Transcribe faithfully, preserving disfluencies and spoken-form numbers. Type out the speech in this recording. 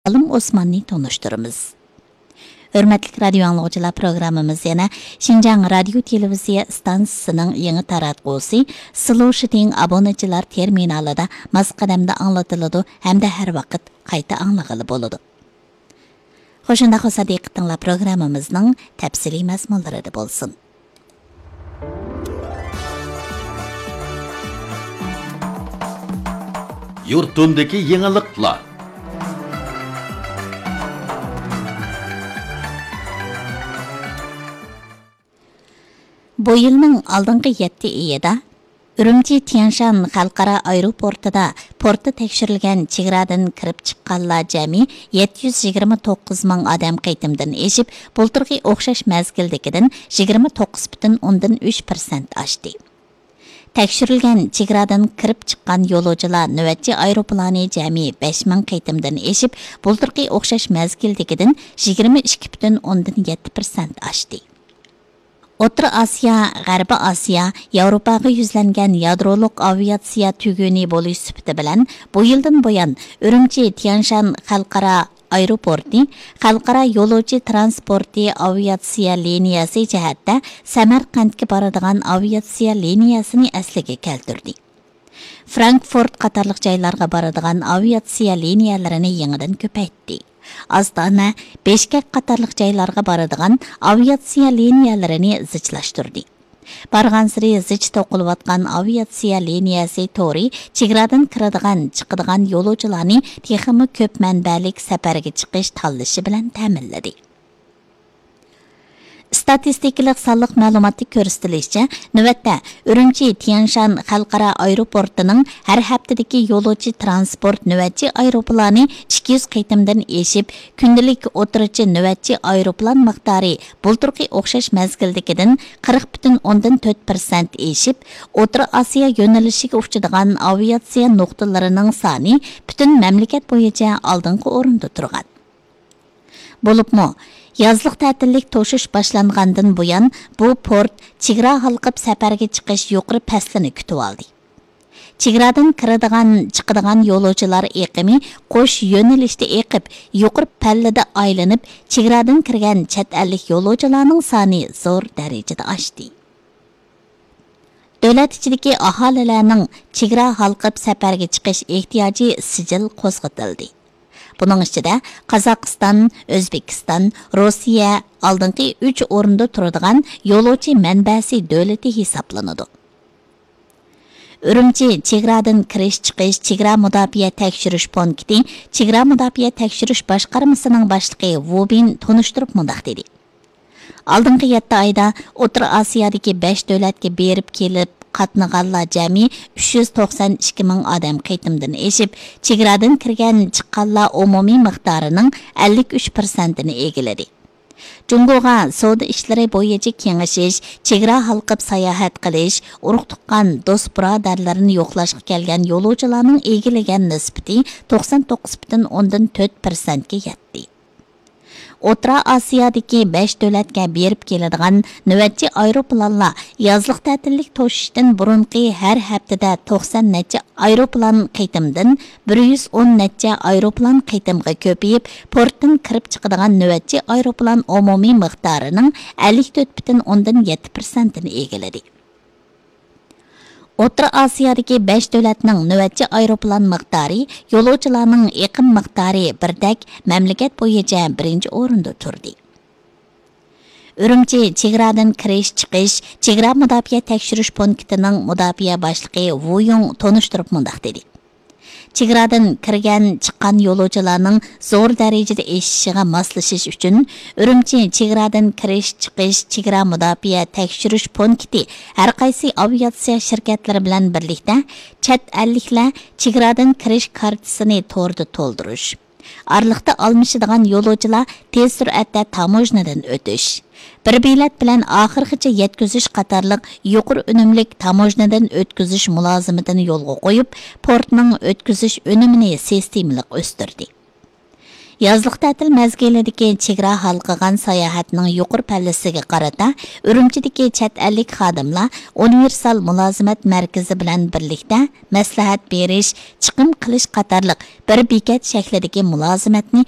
ئالىم ئوسماننى تونۇشتۇرىمىز. ھۆرمەتلىك رادىيو ئاڭلىغۇچىلار، پروگراممىمىز يەنە شىنجاڭ رادىيو تېلېۋىزىيە ئىستانسىسىنىڭ يېڭى تاراتقۇسى سلو شىتىڭ ئابۇنىچىلار تېرمىنالىدا ماس قەدەمدە ئاڭلىتىلىدۇ ھەمدە ھەر ۋاقىت قايتا ئاڭلىغىلى بولىدۇ. خوش، ئۇنداق بولسا دىققىتىڭلار پروگراممىمىزنىڭ تەپسىلىي مەزمۇنلىرىدا بولسۇن. يۇرتۇمدىكى يېڭىلىقلار. بۇ يىلنىڭ ئالدىنقى يەتتە ئېيىدا ئۈرۈمچى تيەنشان خەلقئارا ئايروپورتىدا پورتتا تەكشۈرۈلگەن چېگرادىن كىرىپ چىققانلار جەمئىي يەتتە يۈز يىگىرمە توققۇز مىڭ ئادەم قېتىمدىن ئېشىپ، بۇلتۇرقى ئوخشاش مەزگىلدىكىدىن يىگىرمە توققۇز پۈتۈن ئوندىن ئۈچ پىرسەنت ئاشتى. تەكشۈرۈلگەن چېگرادىن كىرىپ چىققان يولۇچىلار نۆۋەتچى ئايروپىلانى جەمئىي بەش مىڭ قېتىمدىن ئېشىپ، بۇلتۇرقى ئوخشاش مەزگىلدىكىدىن يىگىرمە ئىككى پۈتۈن ئوندىن يەتتە پىرسەنت ئاشتى. ئوتتۇرا ئاسىيا، غەربىي ئاسىيا، ياۋروپاغا يۈزلەنگەن يادرولۇق ئاۋىئاتسىيە تۈگۈنى بولۇش سۈپىتى بىلەن، بۇ يىلدىن بۇيان ئۈرۈمچى تيەنشان خەلقئارا ئايروپورتى خەلقئارا يولۇچى ترانسپورتى ئاۋىئاتسىيە لىنىيەسى جەھەتتە سەمەرقەنتكە بارىدىغان ئاۋىئاتسىيە لىنىيەسىنى ئەسلىگە كەلتۈردى. فرانكفورت قاتارلىق جايلارغا بارىدىغان ئاۋىئاتسىيە لىنىيەلىرىنى يېڭىدىن كۆپەيتتى. ئاستانە، بىشكەك قاتارلىق جايلارغا بارىدىغان ئاۋىئاتسىيە لىنىيەلىرىنى زىچلاشتۇردى. بارغانسېرى زىچ توقۇلۇۋاتقان ئاۋىئاتسىيە لىنىيەسى تورى چېگرادىن كىرىدىغان، چىقىدىغان يولۇچىلارنى تېخىمۇ كۆپ مەنبەلىك سەپەرگە چىقىش تاللىشى بىلەن تەمىنلىدى. ئىستاتىستىكىلىق سانلىق مەلۇماتتا كۆرسىتىلىشىچە، نۆۋەتتە ئۈرۈمچى تيەنشان خەلقئارا ئايروپورتىنىڭ ھەر ھەپتىدىكى يولۇچى ترانسپورت نۆۋەتچى ئايروپىلانى ئىككى يۈز قېتىمدىن ئېشىپ، كۈندىلىك ئوتتۇرىچە نۆۋەتچى ئايروپىلان مىقدارى بۇلتۇرقى ئوخشاش مەزگىلدىكىدىن قىرىق پۈتۈن ئوندىن تۆت پىرسەنت ئېشىپ، ئوتتۇرا ئاسىيا يۆنىلىشىگە ئۇچىدىغان ئاۋىئاتسىيە نۇقتىلىرىنىڭ سانى پۈتۈن مەملىكەت بويىچە ئالدىنقى ئورۇندا تۇرغان. بولۇپمۇ، يازلىق تەتىللىك توشۇش باشلانغاندىن بۇيان، بۇ پورت چېگرا ھالقىپ سەپەرگە چىقىش يۇقىرى پەسلىنى كۈتۈۋالدى. چېگرادىن كىرىدىغان، چىقىدىغان يولۇچىلار ئېقىمى قوش يۆنىلىشتە ئېقىپ، يۇقىرى پەللىدە ئايلىنىپ، چېگرادىن كىرگەن چەت ئەللىك يولۇچىلارنىڭ سانى زور دەرىجىدە ئاشتى. دۆلەت ئىچىدىكى ئاھالىلەرنىڭ چېگرا ھالقىپ سەپەرگە چىقىش ئېھتىياجى سىجىل قوزغىتىلدى. بۇنىڭ ئىچىدە قازاقىستان، ئۆزبېكىستان، روسىيە ئالدىنقى ئۈچ ئورۇندا تۇرىدىغان يولۇچى مەنبەسى دۆلىتى ھېسابلىنىدۇ. ئۈرۈمچى چېگرادىن كىرىش چىقىش چېگرا مۇداپىئە تەكشۈرۈش پونكىتى چېگرا مۇداپىئە تەكشۈرۈش باشقارمىسىنىڭ باشلىقى ۋۇ بىن تونۇشتۇرۇپ مۇنداق دېدى: ئالدىنقى يەتتە ئايدا ئوتتۇرا ئاسىيادىكى بەش دۆلەتكە بېرىپ كېلىپ قاتنىغانلار جەمئىي ئۈچ يۈز توقسان ئىككى مىڭ ئادەم قېتىمدىن ئېشىپ، چېگرادىن كىرگەن چىققانلار ئومۇمىي مىقدارىنىڭ ئەللىك ئۈچ پىرسەنتىنى ئىگىلىدى. جۇڭگوغا سودا ئىشلىرى بويىچە كېڭىشىش، چېگرا ھالقىپ ساياھەت قىلىش، ئۇرۇق تۇغقان، دوست بۇرادەرلىرىنى يوقلاشقا كەلگەن يولۇچىلارنىڭ ئىگىلىگەن نىسبىتى توقسان توققۇز پۈتۈن ئوندىن تۆت پىرسەنتكە يەتتى. ئوتتۇرا ئاسىيادىكى بەش دۆلەتكە بېرىپ كېلىدىغان نۆۋەتچى ئايروپىلانلار يازلىق تەتىللىك توشۇشتىن بۇرۇنقى ھەر ھەپتىدە توقسان نەچچە ئايروپىلان قېتىمدىن بىر يۈز ئون نەچچە ئايروپىلان قېتىمغا كۆپىيىپ، پورتتىن كىرىپ چىقىدىغان نۆۋەتچى ئايروپىلان ئومۇمىي مىقدارىنىڭ ئەللىك تۆت پۈتۈن ئوندىن يەتتە پىرسەنتىنى ئىگىلىدى. ئوتتۇرا ئاسىيادىكى بەش دۆلەتنىڭ نۆۋەتچى ئايروپىلان مىقدارى يولۇچىلارنىڭ ئېقىم مىقدارى بىردەك مەملىكەت بويىچە بىرىنچى ئورۇندا تۇردى. ئۈرۈمچى چېگرادىن كىرىش چىقىش چېگرا مۇداپىئە تەكشۈرۈش پونكىتىنىڭ مۇداپىئە باشلىقى ۋۇ يۇڭ تونۇشتۇرۇپ مۇنداق دېدى: چېگرادىن كىرگەن، چىققان يولۇچىلارنىڭ زور دەرىجىدە ئېشىشىغا ماسلىشىش ئۈچۈن، ئۈرۈمچى چېگرادىن كىرىش چىقىش چېگرا مۇداپىئە تەكشۈرۈش پونكىتى ھەرقايسى ئاۋىئاتسىيە شىركەتلىرى بىلەن بىرلىكتە چەت ئەللىكلەر چېگرادىن كىرىش كارتىسىنى توردا تولدۇرۇش، ئارىلىقتا ئالمىشىدىغان يولۇچىلار تېز سۈرئەتتە تاموژنىدىن ئۆتۈش، بىر بېلەت بىلەن ئاخىرغىچە يەتكۈزۈش قاتارلىق يۇقىرى ئۈنۈملۈك تاموژنىدىن ئۆتكۈزۈش مۇلازىمىتىنى يولغا قويۇپ، پورتنىڭ ئۆتكۈزۈش ئۈنۈمىنى سىستېمىلىق ئۆستۈردى. يازلىق تەتىل مەزگىلىدىكى چېگرا ھالقىغان ساياھەتنىڭ يۇقىرى پەللىسىگە قارىتا، ئۈرۈمچىدىكى چەت ئەللىك خادىملار ئۇنىۋېرسال مۇلازىمەت مەركىزى بىلەن بىرلىكتە مەسلىھەت بېرىش، چىقىم قىلىش قاتارلىق بىر بېكەت شەكلىدىكى مۇلازىمەتنى